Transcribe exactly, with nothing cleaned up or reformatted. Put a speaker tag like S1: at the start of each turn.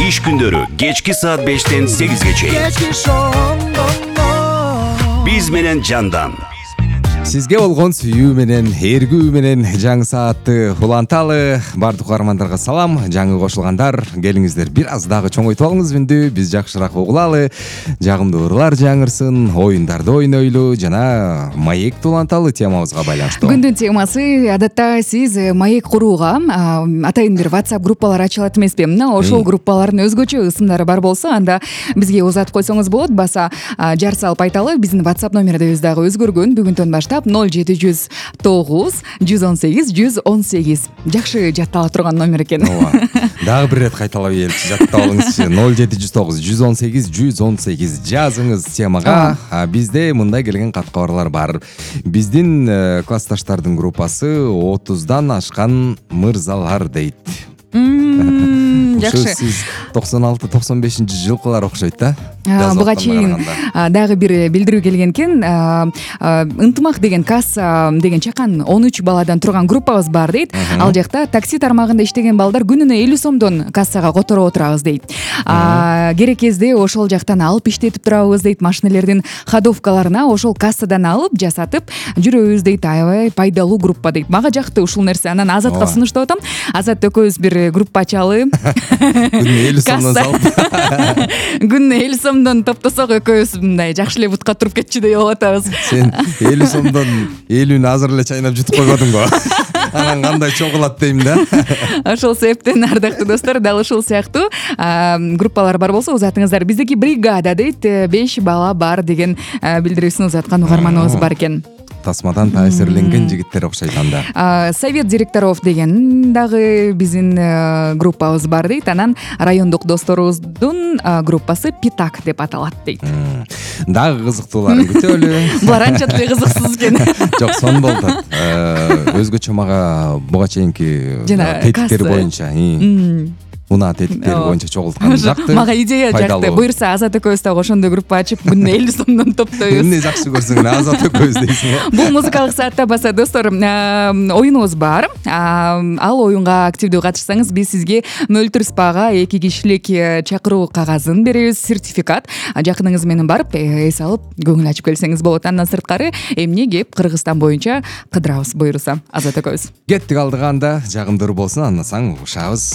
S1: Иш күндөрү кечки саат бештен сегизге чейин. Биз менен жандан.
S2: Сизге болгон сүйүү менен, эргүү менен жаңы саатты уланталы. Бардык угармандарга салам. Жаңы кошулгандар, келиңиздер бир аз дагы чоңойтуп алыңыз үндү. Биз жакшыраак угулалы. Жагымдуу ырлар жаңырсын, оюндарды ойнойлу жана маек уланталы темабызга байланыштуу.
S3: Күндүн темасы адатта сиз маек курууга атайын бир WhatsApp группалар ачылат эмеспи? Мына ошол группалардын өзгөчө ысымдары бар болсо, анда бизге узатып койсоңуз болот. Баса жар салып айталы. Биздин WhatsApp номерибиз дагы өзгөргөн. Бүгүндөн баштап ноль жети жүз тогуз жүз он сегиз жүз он сегиз. Жакшы жаттала турган номер экен.
S2: Ооба. Дагы бир ирет кайталап ийеличи, жаттап алыңызчы. ноль жети жүз тогуз жүз он сегиз жүз он сегиз жазыңыз темага. Бизде мындай келген кат кабарлар бар. Биздин классташтардын группасы отуздан ашкан мырзалар дейт.
S3: Жакшы.
S2: Сиз токсон алты токсон бешинчи жылкылар окшойт да.
S3: Буга чейин дагы бир билдирүү келген экен. Ынтымак деген касса деген чакан он үч баладан турган группабыз бар дейт. Ал жакта такси тармагында иштеген балдар күнүнө элүү сомдон кассага которуп отурабыз дейт. Керек кезде ошол жактан алып иштетип турабыз дейт. Машинелердин ходовкаларына ошол кассадан алып жасатып жүрөбүз дейт. Аябай пайдалуу группа дейт. Мага жакты ушул нерсе. Анан Азатка сунуштап атам. Азат экөөбүз бир группа ачалы.
S2: Күнүнө элүү сомдон салып.
S3: Күнүнө элүү сомдон топтосок экөөбүз мындай жакшы эле бутка туруп кетчү деп атабыз.
S2: Сен элүү сомдон элүүнү азыр эле чайнап жутуп койбодуңбу? Анан кандай чоң кылат дейм да.
S3: Ошол себептен ардактуу достор, дал ушул сыяктуу группалар бар болсо узатыңыздар. Биздики бригада дейт, беш бала бар деген билдирүүсүн узаткан угарманыбыз бар экен.
S2: Тасмадан таасирленген жигиттер окшойт анда.
S3: Совет директоров деген дагы биздин группабыз бар дейт. Анан райондук досторубуздун группасы Питак деп аталат дейт.
S2: Дагы кызыктууларын күтөлү.
S3: Булар анча деле кызыксыз экен.
S2: Жок, сон болду. Өзгөчө мага буга чейинки тетиктер боюнча унаа тетиктери боюнча чогулткан жакты.
S3: Мага идея жакты. Буюрса Азат экөөбүз дагы ошондой группа ачып, күнүнө элүү сомдон топтойбуз.
S2: Эмне жакшы көрсөң, Азат экөөбүз дейсиң.
S3: Бул музыкалык саатта баса достор, оюнубуз бар. Ал оюнга активдүү катышсаңыз, биз сизге мөлтүр спага эки кишилик чакыруу кагазын беребиз, сертификат. Жакыныңыз менен барып, эс алып, көңүл ачып келсеңиз болот. Андан сырткары эмне кеп Кыргызстан боюнча кыдырабыз буюрса, Азат экөөбүз.
S2: Кеттик алдыга анда, жагымдуу болсун, андан соң угушабыз.